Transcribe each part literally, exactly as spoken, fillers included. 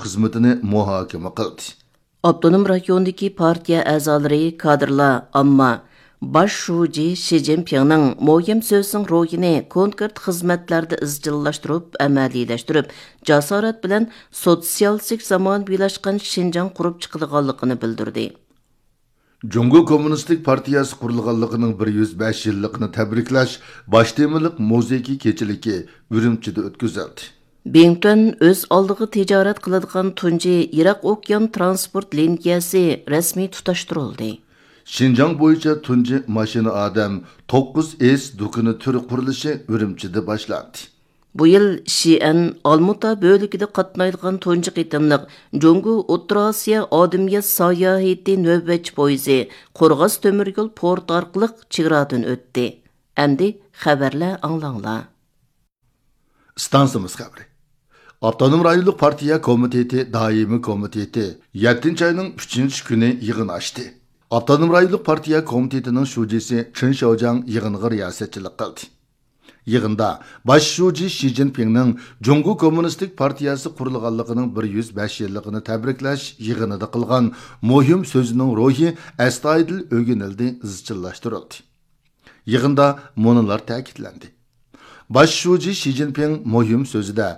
خىزمىتىنى مۇھاكىمە قىلدى. ئاپتونوم رايوندىكى پارتىيە ئەزالىرى، كادىرلار، ئامما باش شۇجى شى جىنپىڭنىڭ مۇھىم سۆزىنىڭ روھىنى كونكرېت خىزمەتلەردە ئىزچىللاشتۇرۇپ، ئەمەلىيلەشتۈرۈپ، جاسارەت بىلەن سوتسىيالىستىك زامانىۋىلاشقان شىنجاڭ قۇرۇپ چىقىدىغانلىقىنى بىلدۈردى. جۇڭگو كوممۇنىستىك پارتىيەسى قۇرۇلغانلىقىنىڭ بىر يۈز بەش يىللىقىنى تەبرىكلەش باش تېمىلىق مۇزېيكى كېچىلىكى ئۈرۈمچىدە ئۆتكۈزۈلدى. بىڭتۈەن ئۆز ئالدىغا تىجارەت قىلىدىغان تۇنجى يىراق ئوكيان ترانسپورت لىنىيەسى رەسمىي تۇتاشتۇرۇلدى. شىنجاڭ بويىچە تۇنجى ماشىنا ئادەم توققۇز ئېس دۇكىنى تۈرى قۇرۇلۇشى ئۈرۈمچىدە باشلاندى. بۇ يىل شىئەن ئالمۇتا بۆلىكىدە قاتنايدىغان تۇنجى قېتىملىق جۇڭگو ئوتتۇرا ئاسىيا ئادەمىيەت ساياھىتى نۆۋەتچى پويىزى قورغاس تۆمۈر يول پورتى ئارقىلىق چېگرادىن ئۆتتى. ئەمدى خەۋەرلەر ئاڭلاڭلار. ئىستانسىمىز خەۋىرى. ئاپتونوم رايونلۇق پارتىيە كومىتېتى دائىمىي كومىتېتى يەتتىنچى ئاينىڭ ئۈچىنچى كۈنى يىغىن ئاچتى. ئاپتونوم رايونلۇق پارتىيە كومىتېتىنىڭ شۇجىسى چېن شياۋجياڭ يىغىنغا رىياسەتچىلىك قىلدى. يىغىندا باش شۇجى شى جىنپىڭنىڭ جۇڭگو كوممۇنىستىك پارتىيەسى قۇرۇلغانلىقىنىڭ بىر يۈز بەش يىللىقىنى تەبرىكلەش يىغىنىدا قىلغان مۇھىم سۆزىنىڭ روھى ئەستايىدىل ئۆگىنىلدى، ئىزچىللاشتۇرۇلدى. يىغىندا مۇنۇلار تەكىتلەندى. باش شۇجى شى جىنپىڭ مۇھىم سۆزىدە،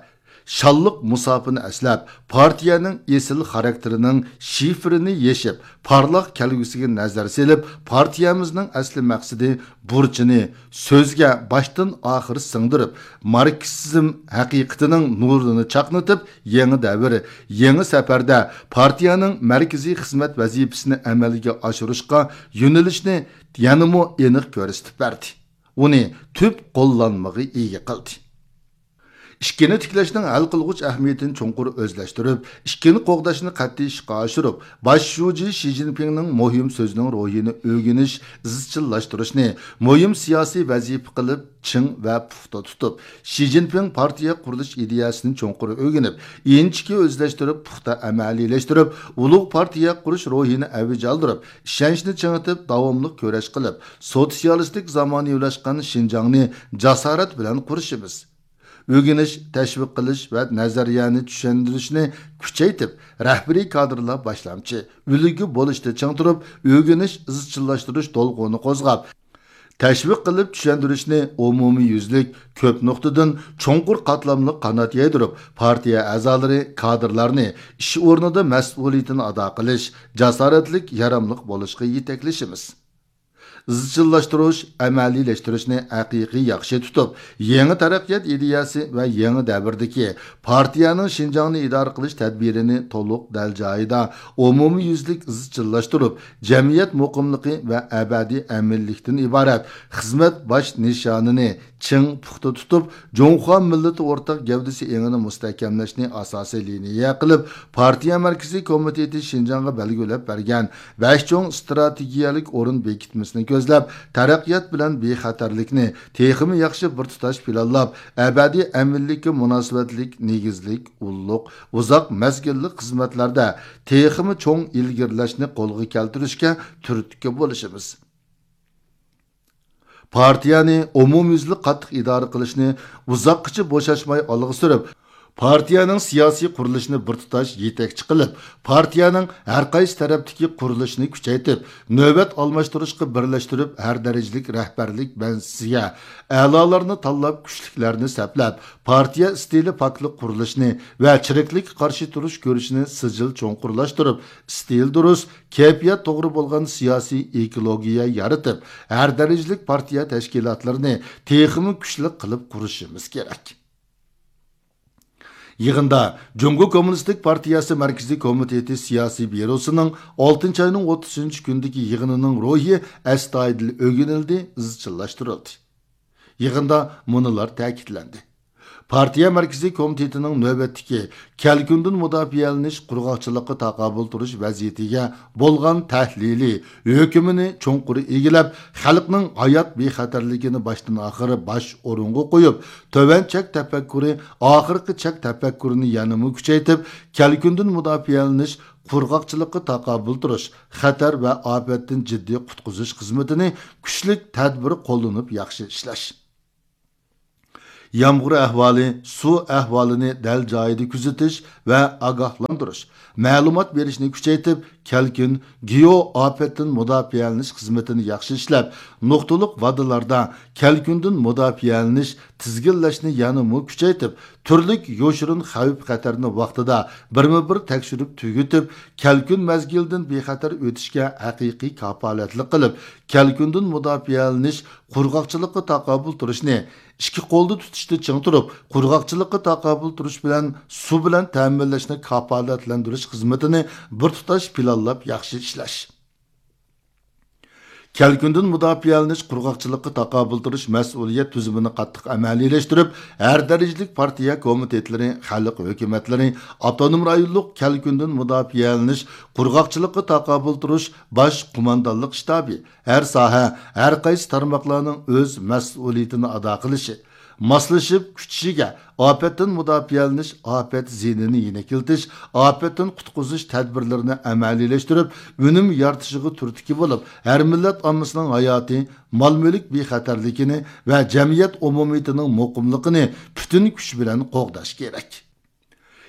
شانلىق مۇساپىنى ئەسلەپ، پارتىيەنىڭ ئېسىل خاراكتېرىنىڭ شىفىرىنى يېشىپ، پارلاق كەلگۈسىگە نەزەر سېلىپ، پارتىيەمىزنىڭ ئەسلى مەقسىتى، بۇرچىنى سۆزگە باشتىن ئاخىر سىڭدۈرۈپ، ماركسىزم ھەقىقىتىنىڭ نۇرىنى چاقنىتىپ، يېڭى دەۋر، يېڭى سەپەردە پارتىيەنىڭ مەركىزىي خىزمەت ۋەزىپىسىنى ئەمەلگە ئاشۇرۇشقا يۆنىلىشنى يەنىمۇ ئېنىق كۆرسىتىپ بەردى. ئۇنى تۈپ قوللانمىغا ئىگە قىلدى. ئىككىنى تىكلەشنىڭ ھەل قىلغۇچ ئەھمىيىتىنى چوڭقۇر ئۆزلەشتۈرۈپ، ئىككىنى قوغداشنى قەتئىي ئىشقا ئاشۇرۇپ، باش شۇجى شى جىنپىڭنىڭ مۇھىم سۆزىنىڭ روھىنى ئۆگىنىش، ئىزچىللاشتۇرۇشنى مۇھىم سىياسىي ۋەزىپە قىلىپ چىڭ ۋە پۇختا تۇتۇپ، شى جىنپىڭ پارتىيە قۇرۇلۇش ئىدىيەسىنى چوڭقۇر ئۆگىنىپ، ئىنچىكە ئۆزلەشتۈرۈپ، پۇختا ئەمەلىيلەشتۈرۈپ، ئۇلۇغ پارتىيە قۇرۇش روھىنى ئەۋج ئالدۇرۇپ، ئىشەنچنى چىڭىتىپ، داۋاملىق كۈرەش قىلىپ، سوتسىيالىستىك زامانىۋىلاشقان شىنجاڭنى جاسارەت بىلەن قۇرۇشىمىز. ئۆگىنىش، تەشۋىق قىلىش ۋە نەزەرىيەنى چۈشەندۈرۈشنى كۈچەيتىپ، رەھبىرىي كادىرلار باشلامچى، ئۈلگە بولۇشتا چىڭ تۇرۇپ، ئۆگىنىش، ئىزچىللاشتۇرۇش دولقۇنى قوزغاپ، تەشۋىق قىلىپ چۈشەندۈرۈشنى ئومۇميۈزلۈك، كۆپ نۇقتىدىن چوڭقۇر قاتلاملىق قانات يايدۇرۇپ، پارتىيە ئەزالىرى، كادىرلارنى ئىش ئورنىدا مەسئۇلىيىتىنى ئادا قىلىش، جاسارەتلىك، ياراملىق بولۇشقا يېتەكلىشىمىز. ئىزچىللاشتۇرۇش، ئەمەلىيلەشتۈرۈشنى ھەقىقىي ياخشى تۇتۇپ، يېڭى تەرەققىيات ئىدىيەسى ۋە يېڭى دەۋردىكى پارتىيەنىڭ شىنجاڭنى ئىدارە قىلىش تەدبىرىنى تولۇق دەل جايىدا، ئومۇميۈزلۈك ئىزچىللاشتۇرۇپ، جەمئىيەت مۇقىملىقى ۋە ئەبەدىي ئەمىنلىكتىن ئىبارەت خىزمەت باش نىشانىنى چىڭ پۇختا تۇتۇپ، جۇڭخۇا مىللىتى ئورتاق گەۋدىسى ئېڭىنى مۇستەھكەملەشنى ئاساسىي لىنىيە قىلىپ، پارتىيە مەركىزىي كومىتېتى شىنجاڭغا بەلگىلەپ بەرگەن بەش چوڭ ئىستراتېگىيەلىك ئورۇن بېكىتمىسىنى كۆزلەپ، تەرەققىيات بىلەن بىخەتەرلىكنى تېخىمۇ ياخشى بىر تۇتاش پىلانلاپ، ئەبەدىي ئەمىنلىككە مۇناسىۋەتلىك نېگىزلىك، ئۇللۇق، ئۇزاق مەزگىللىك خىزمەتلەردە تېخىمۇ چوڭ ئىلگىرىلەشنى قولغا كەلتۈرۈشكە تۈرتكە بولۇشىمىز. پارتىيەنى ئومۇميۈزلۈك قاتتىق ئىدارە قىلىشنى ئۇزاققىچە بوشاشماي ئالغا سۈرۈپ، پارتىيەنىڭ سىياسىي قۇرۇلۇشىنى بىر تۇتاش يېتەكچى قىلىپ، پارتىيەنىڭ ھەر قايسى تەرەپتىكى قۇرۇلۇشىنى كۈچەيتىپ، نۆۋەت ئالماشتۇرۇشقا بىرلەشتۈرۈپ، ھەر دەرىجىلىك رەھبەرلىك مەسىسىگە ئەلالارنى تاللاپ، كۈچلۈكلەرنى سەپلەپ، پارتىيە ئىستىلى پاكلىق قۇرۇلۇشىنى ۋە چىرىكلىككە قارشى تۇرۇش كۈرىشىنى سىجىل چوڭقۇرلاشتۇرۇپ، ئىستىل دۇرۇس، كەيپىيات توغرا بولغان سىياسىي ئېكولوگىيە يارىتىپ، ھەر دەرىجىلىك پارتىيە تەشكىلاتلىرىنى تېخىمۇ كۈچلۈك قىلىپ قۇرۇشىمىز كېرەك. يىغىندا جۇڭگو كوممۇنىستىك پارتىيەسى مەركىزىي كومىتېتى سىياسىي بيۇروسىنىڭ ئالتىنچى ئاينىڭ ئوتتۇزىنچى كۈنىدىكى يىغىنىنىڭ روھى ئەستايىدىل ئۆگىنىلدى، ئىزچىللاشتۇرۇلدى. يىغىندا مۇنۇلار تەكىتلەندى. پارتىيە مەركىزىي كومىتېتىنىڭ نۆۋەتتىكى كەلكۈندىن مۇداپىئەلىنىش، قۇرغاقچىلىققا تاقابىل تۇرۇش ۋەزىيىتىگە بولغان تەھلىلى ھۆكمىنى چوڭقۇر ئىگىلەپ، خەلقنىڭ ھايات بىخەتەرلىكىنى باشتىن ئاخىر باش ئورۇنغا قويۇپ، تۆۋەن چەك تەپەككۇرى، ئاخىرقى چەك تەپەككۇرىنى يەنىمۇ كۈچەيتىپ، كەلكۈندىن مۇداپىئەلىنىش، قۇرغاقچىلىققا تاقابىل تۇرۇش، خەتەر ۋە ئاپەتتىن جىددىي قۇتقۇزۇش خىزمىتىنى كۈچلۈك تەدبىر قوللىنىپ ياخشى ئىشلەش. يامغۇر ئەھۋالى، سۇ ئەھۋالىنى دەل جايىدا كۆزىتىش ۋە ئاگاھلاندۇرۇش، مەلۇمات بېرىشنى كۈچەيتىپ، كەلكۈن، گېئو ئاپەتتىن مۇداپىئەلىنىش خىزمىتىنى ياخشى ئىشلەپ، نۇقتىلىق ۋادىلاردا كەلكۈندىن مۇداپىئەلىنىش، تىزگىنلەشنى يەنىمۇ كۈچەيتىپ، تۈرلۈك يوشۇرۇن خەۋپ-خەتەرنى ۋاقتىدا بىرمۇبىر تەكشۈرۈپ تۈگىتىپ، كەلكۈن مەزگىلىدىن بىخەتەر ئۆتۈشكە ھەقىقىي كاپالەتلىك قىلىپ، كەلكۈندىن مۇداپىئەلىنىش، قۇرغاقچىلىققا تاقابىل تۇرۇشنى ئىككى قولدا تۇتۇشتا چىڭ تۇرۇپ، قۇرغاقچىلىققا تاقابىل تۇرۇش بىلەن سۇ بىلەن تەمىنلەشنى كاپالەتلەندۈرۈش خىزمىتىنى بىر تۇتاش پىلانلاپ ياخشى ئىشلەش. كەلكۈندىن مۇداپىئەلىنىش، قۇرغاقچىلىققا تاقابىل تۇرۇش مەسئۇلىيەت تۈزۈمىنى قاتتىق ئەمەلىيلەشتۈرۈپ، ھەر دەرىجىلىك پارتىيە كومىتېتلىرى، خەلق ھۆكۈمەتلىرى، ئاپتونوم رايونلۇق كەلكۈندىن مۇداپىئەلىنىش، قۇرغاقچىلىققا تاقابىل تۇرۇش باش قوماندانلىق شتابى، ھەر ساھە، ھەر قايسى تارماقلارنىڭ ئۆز مەسئۇلىيىتىنى ئادا قىلىشى، ماسلىشىپ كۈچىشىگە، ئاپەتتىن مۇداپىئەلىنىش، ئاپەت زىيىنىنى يېنىكلىتىش، ئاپەتتىن قۇتقۇزۇش تەدبىرلىرىنى ئەمەلىيلەشتۈرۈپ، ئۈنۈم يارىتىشىغا تۈرتكە بولۇپ، ھەر مىللەت ئاممىسىنىڭ ھاياتى، مال-مۈلۈك بىخەتەرلىكىنى ۋە جەمئىيەت ئومۇمىيىتىنىڭ مۇقىملىقىنى پۈتۈن كۈچ بىلەن قوغداش كېرەك.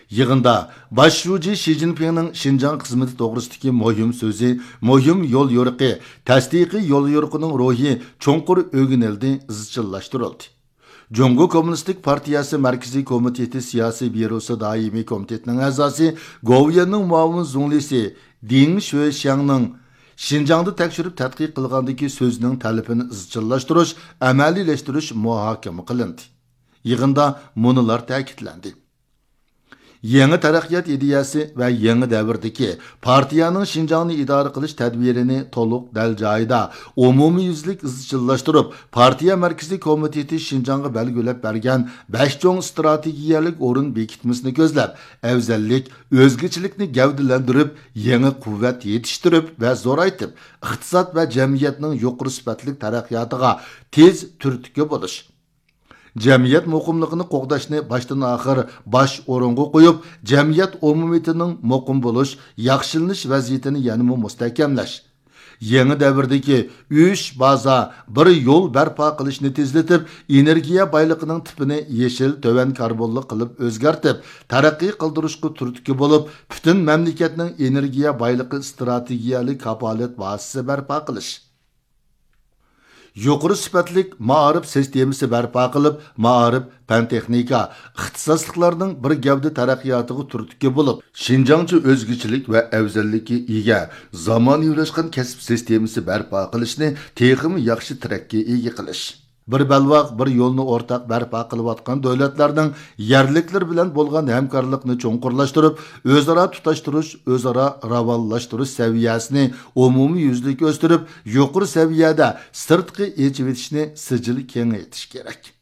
يىغىندا باش شۇجى شى جىنپىڭنىڭ شىنجاڭ خىزمىتى توغرىسىدىكى مۇھىم سۆزى، مۇھىم يوليورۇقى، تەستىقىي يوليورۇقىنىڭ روھى چوڭقۇر ئۆگىنىلدى، ئىزچىللاشتۇرۇلدى. جۇڭگو كوممۇنىستىك پارتىيەسى مەركىزىي كومىتېتى سىياسىي بيۇروسى دائىمىي كومىتېتىنىڭ ئەزاسى، گوۋۇيۈەننىڭ مۇئاۋىن زۇڭلىسى دېڭ شۆشياڭنىڭ شىنجاڭدا تەكشۈرۈپ تەتقىق قىلغاندىكى سۆزىنىڭ تەلىپىنى ئىزچىللاشتۇرۇش، ئەمەلىيلەشتۈرۈش مۇھاكىمە قىلىندى. يىغىندا مۇنۇلار تەكىتلەندى. يېڭى تەرەققىيات ئىدىيەسى ۋە يېڭى دەۋردىكى پارتىيەنىڭ شىنجاڭنى ئىدارە قىلىش تەدبىرىنى تولۇق دەل جايىدا، ئومۇميۈزلۈك ئىزچىللاشتۇرۇپ، پارتىيە مەركىزىي كومىتېتى شىنجاڭغا بەلگىلەپ بەرگەن بەش چوڭ ئىستراتېگىيەلىك ئورۇن بېكىتمىسىنى كۆزلەپ، ئەۋزەللىك، ئۆزگىچىلىكنى گەۋدىلەندۈرۈپ، يېڭى قۇۋۋەت يېتىشتۈرۈپ ۋە زورايتىپ، ئىقتىساد ۋە جەمئىيەتنىڭ يۇقىرى سۈپەتلىك تەرەققىياتىغا تېز تۈرتكە بولۇش، جەمئىيەت مۇقىملىقىنى قوغداشنى باشتىن-ئاخىر باش ئورۇنغا قويۇپ، جەمئىيەت ئومۇمىيىتىنىڭ مۇقىم بولۇش، ياخشىلىنىش ۋەزىيىتىنى يەنىمۇ مۇستەھكەملەش، يېڭى دەۋردىكى ئۈچ بازا، بىر يول بەرپا قىلىشنى تېزلىتىپ، ئېنېرگىيە بايلىقىنىڭ تىپىنى يېشىل، تۆۋەن كاربونلۇق قىلىپ ئۆزگەرتىپ، تەرەققىي قىلدۇرۇشقا تۈرتكە بولۇپ، پۈتۈن مەملىكەتنىڭ ئېنېرگىيە بايلىقى ئىستراتېگىيەلىك كاپالەت ۋاسىتىسى بەرپا قىلىش. يۇقىرى سۈپەتلىك مائارىپ سىستېمىسى بەرپا قىلىپ، مائارىپ، پەن-تېخنىكا، ئىختىساسلىقلارنىڭ بىر گەۋدە تەرەققىياتىغا تۈرتكە بولۇپ، شىنجاڭچە ئۆزگىچىلىك ۋە ئەۋزەللىككە ئىگە، زامانىۋىلاشقان كەسىپ سىستېمىسى بەرپا قىلىشنى تېخىمۇ ياخشى تىرەككە ئىگە قىلىش. بىر بەلباغ، بىر يولنى ئورتاق بەرپا قىلىۋاتقان دۆلەتلەرنىڭ يەرلىكلىرى بىلەن بولغان ھەمكارلىقنى چوڭقۇرلاشتۇرۇپ، ئۆزئارا تۇتاشتۇرۇش، ئۆزئارا راۋانلاشتۇرۇش سەۋىيەسىنى ئومۇميۈزلۈك ئۆستۈرۈپ، يۇقىرى سەۋىيەدە سىرتقى ئېچىۋېتىشنى سىجىل كېڭەيتىش كېرەك.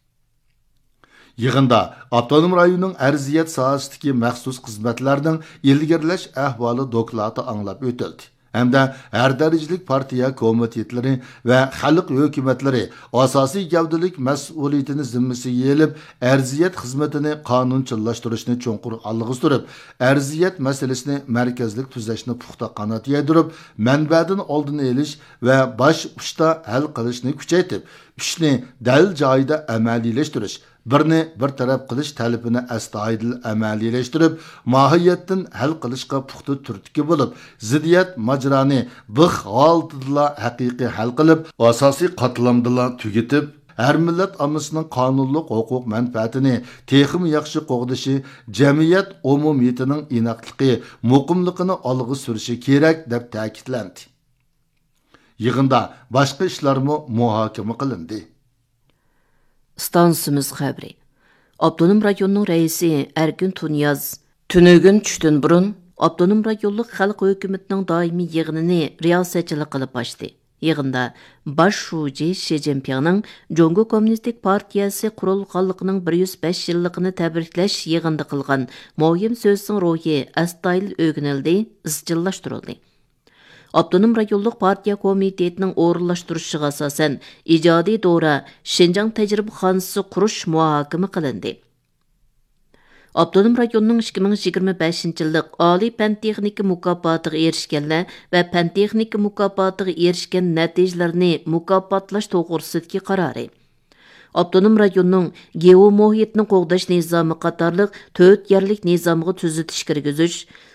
يىغىندا ئاپتونوم رايوننىڭ ئەرزىيەت ساھەسىدىكى مەخسۇس خىزمەتلەرنىڭ ئىلگىرىلەش ئەھۋالى دوكلاتى ئاڭلاپ ئۆتۈلدى ھەمدە ھەر دەرىجىلىك پارتىيە كومىتېتلىرى ۋە خەلق ھۆكۈمەتلىرى ئاساسىي گەۋدىلىك مەسئۇلىيىتىنى زىممىسىگە ئېلىپ، ئەرزىيەت خىزمىتىنى قانۇنچىللاشتۇرۇشنى چوڭقۇر ئالغا سۈرۈپ، ئەرزىيەت مەسىلىسىنى مەركەزلىك تۈزەشنى پۇختا قانات يايدۇرۇپ، مەنبەدىن ئالدىنى ئېلىش ۋە باش ئۇچتا ھەل قىلىشنى كۈچەيتىپ، ئۈچنى دەل جايىدا ئەمەلىيلەشتۈرۈش، بىرنى بىر تەرەپ قىلىش تەلىپىنى ئەستايىدىل ئەمەلىيلەشتۈرۈپ، ماھىيەتتىن ھەل قىلىشقا پۇختا تۈرتكە بولۇپ، زىددىيەت ماجىرانى بىخ ھالىتىدىلا ھەقىقىي ھەل قىلىپ، ئاساسىي قاتلامدىلا تۈگىتىپ، ھەر مىللەت ئاممىسىنىڭ قانۇنلۇق ھوقۇق مەنپەئەتىنى تېخىمۇ ياخشى قوغدىشى، جەمئىيەت ئومۇمىيىتىنىڭ ئىناقلىقى، مۇقىملىقىنى ئالغا سۈرۈشى كېرەك، دەپ تەكىتلەندى. يىغىندا باشقا ئىشلارمۇ مۇھاكىمە قىلىندى. ئىستانسىمىز خەۋىرى. ئاپتونوم رايوننىڭ رەئىسى ئەركىن تۇنىياز تۈنۈگۈن چۈشتىن بۇرۇن ئاپتونوم رايونلۇق خەلق ھۆكۈمىتىنىڭ دائىمىي يىغىنىنى رىياسەتچىلىك قىلىپ ئاچتى. يىغىندا باش شۇجى شى جىنپىڭنىڭ جۇڭگو كوممۇنىستىك پارتىيەسى قۇرۇلغانلىقىنىڭ بىر يۈز بەش يىللىقىنى تەبرىكلەش يىغىنىدا قىلغان مۇھىم سۆزىنىڭ روھى ئەستايىدىل ئۆگىنىلدى، ئىزچىللاشتۇرۇلدى. ئاپتونوم رايونلۇق پارتىيە كومىتېتىنىڭ ئورۇنلاشتۇرۇشىغا ئاساسەن، ئىجادىي دورا شىنجاڭ تەجرىبىخانىسى قۇرۇش مۇھاكىمە قىلىندى. ئاپتونوم رايوننىڭ ئىككى مىڭ يىگىرمە بەشىنچى يىللىق ئالىي پەن تېخنىكا مۇكاپاتىغا ئېرىشكەنلەر ۋە پەن تېخنىكا مۇكاپاتىغا ئېرىشكەن نەتىجىلەرنى مۇكاپاتلاش توغرىسىدىكى قارارى. ئاپتونوم رايوننىڭ گېئومۇھىتنى قوغداش نىزامى قاتارلىق تۆت يەرلىك نىزامغا تۈزىتىش كىرگۈزۈش،